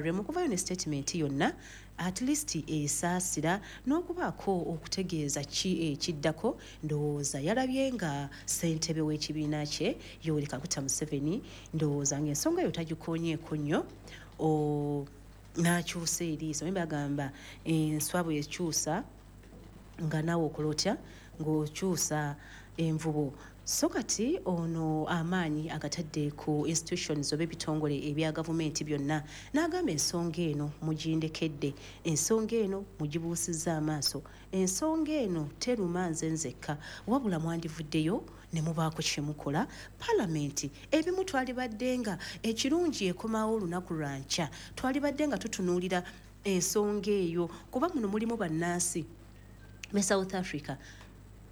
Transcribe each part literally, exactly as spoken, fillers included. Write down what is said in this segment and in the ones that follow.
N R M okuvayo ne statement yonna, at least esaasira n'okubaako okutegeeza ki ekiddako. Ndowooza yalabye nga ssentebe w'ekibiina kye Yoweri Kaguta Museveni, ndowooza ng'ensonga eyo tagikoonyeeko nnyo, n'akyusa eriiso. Naye bagamba enswa bwekyusa nga naawe okola otya ng'okyusa envubo. So kati ono amaanyi agatadde ku institutions oba ebitongole ebya gavumenti byonna, n'agamba ensonga eno mugindekedde, ensonga eno mugibuusizza amaaso, ensonga eno teruma nze nzekka, wabula mwandivuddeyo ne mubaako kyemukola. Palamenti ebimu twalibadde nga ekirungi ekomawo olunaku lwankya, twalibadde nga tutunuulira ensonga eyo, kuba muno mulimu bannansi be South Africa.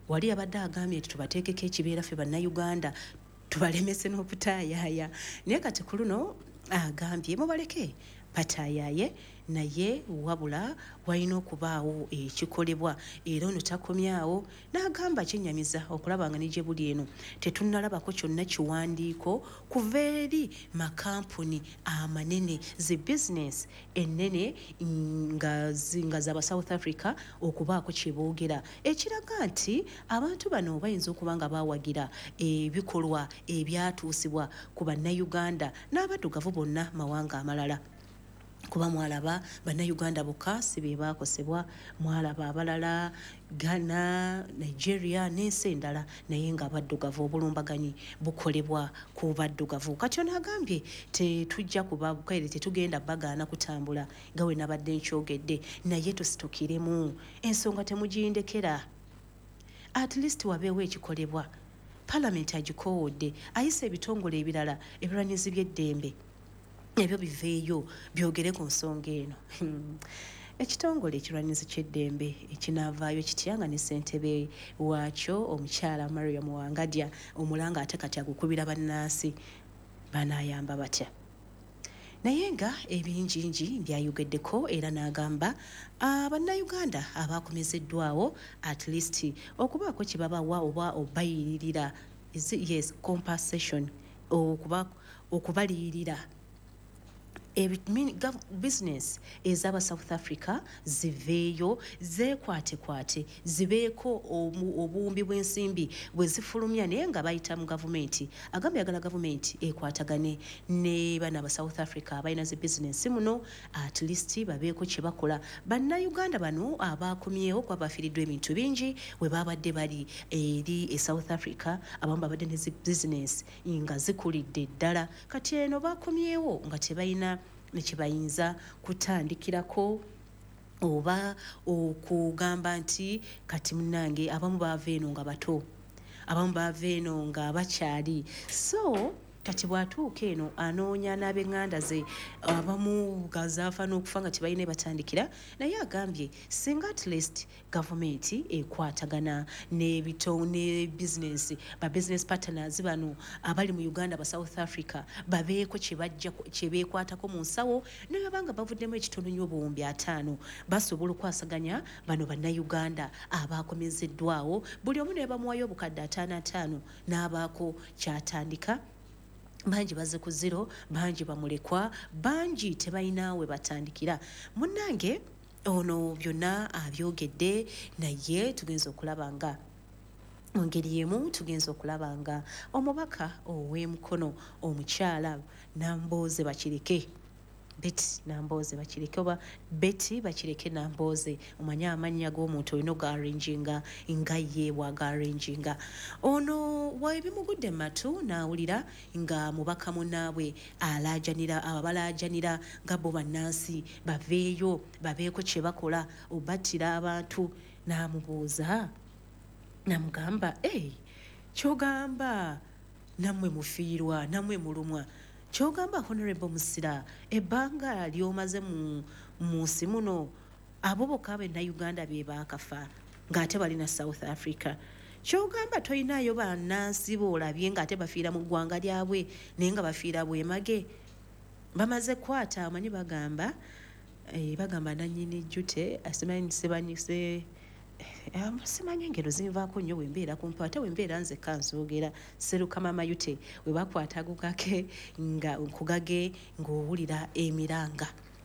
Wali abadde agambye nti tubateekeko ekibeera ffe Bannayuganda, tubalemese n'okutaayaaya, naye kati ku luno agambye mubaleke bataayaye, naye wabula walina okubaawo ekikolebwa. Era ono takomyawo n'agamba kyenyamiza okulaba nga ne gye buli eno tetunnalabako kyonna kiwandiiko kuva eri makampuni amanene, zi bizinesi ennene nga, nga zaba South Africa okubaako kye boogera ekiraga nti abantu bano bayinza okuba nga bawagira ebikolwa ebyatuusibwa ku Bannayuganda n'abaddugavu bonna mawanga amalala, kuba mwalaba Bannayuganda bokka si be baakosebwa, mwalaba abalala, Ghana, Nigeria n'ensi endala, naye nga abaddugavu obulumbaganyi bukolebwa ku baddugavu. Kati ono agambye tetujja kubaere, tetugenda bagaana kutambula nga we nabadde nkyogedde, naye tusitukiremu, ensonga temugindekera, at least wabeewo ekikolebwa. Palamenti agikoowodde, ayise ebitongole ebirala ebirwanyizi by'eddembe ebyo biveeyo byogere ku nsonga eno. Ekitongole ekirwanyizi ky'eddembe ekinaavaayo kitya nga ne ssentebe waakyo omukyala Mariam Wangadya omulanga ate kati agukubira bannansi, banaayamba batya? Naye nga ebingingi byayogeddeko, era n'agamba Bannayuganda abakomezeddwawo at least okubaako kye babawa oba obayiririra, yes, compensation, okuba okubaliyirira, bizinesi ez'aba South Africa ziveeyo zeekwatekwate, zibeeko obuwumbi bw'ensimbi bwe zifulumya, naye nga bayita mu gavumenti. Agamba yagala gavumenti ekwatagane ne bana aba South Africa abalina zi bizinesi muno, at least babeeko kye bakola Bannayuganda bano abakomyewo, kuba bafiiriddwa ebintu bingi we babadde bali eri e South Africa. Abamu babadde ne zi bizinesi nga zikulidde ddala, kati eno bakomyewo nga tebalina nekibayinza kutandikirako oba okugamba nti kati munnange. Abamu baava eno nga bato, abamu baava eno nga bakyali, so kati bw'atuuka eno anoonya n'ab'eŋŋanda ze, abamu gazaafa n'okufa nga tebalina batandikira. Naye agambye singa at least gavumenti ekwatagana n'ebito ne bizinesi, ba business partners bano abali mu Uganda ba South Africa babeeko kye bajja kye beekwatako mu nsawo, ne baba nga bavuddemu ekitono nnyo obuwumbi ataano, basobola okwasaganya bano Bannayuganda abakomezeddwawo, buli omu ne bamuwayo obukadde ataano ataano n'abaako kyatandika. Bangi bazze ku zero, bangi bamulekwa, bangi tebalina we batandikira. Munnange ono byonna abyogedde, naye tugenza okulaba nga mu ngeri emu tugenza okulaba nga omubaka ow'Emukono omukyala Nambooze Bakireke, Betty Nambooze Bakireke, oba Betty Bakireke Nambooze, omanye amannya g'omuntu olina ogaarranginga nga ye bw'agaarranginga. Ono webimugudde mu matu n'awulira nga mubaka munnaabwe alaajanira, abo abalaajanira nga bo bannansi baveeyo babeeko kye bakola obattira abantu, n'amubuuza namugamba, "Ei, kyogamba nammwe mufiirwa, nammwe mulumwa? Kyogamba Honorable Musira, ebbanga ly'omaze mu mu nsi muno, abo bokka Bannayuganda be baakafa ng'ate balina South Africa? Kyogamba toyinaayo bannansi boolabye ng'ate bafiira mu ggwanga lyabwe, naye nga bafiira bwemage bamaze kwata?" Omanyi bagamba eh, bagamba nannyini jjute simanyi sebanyise, simanyi engero zinvaako nnyo bwe mbeera kumpa, ate bwe mbeera nzekka nzoogera serukama mayute we bakwata gugake nga nkugage ng'owulira emiranga.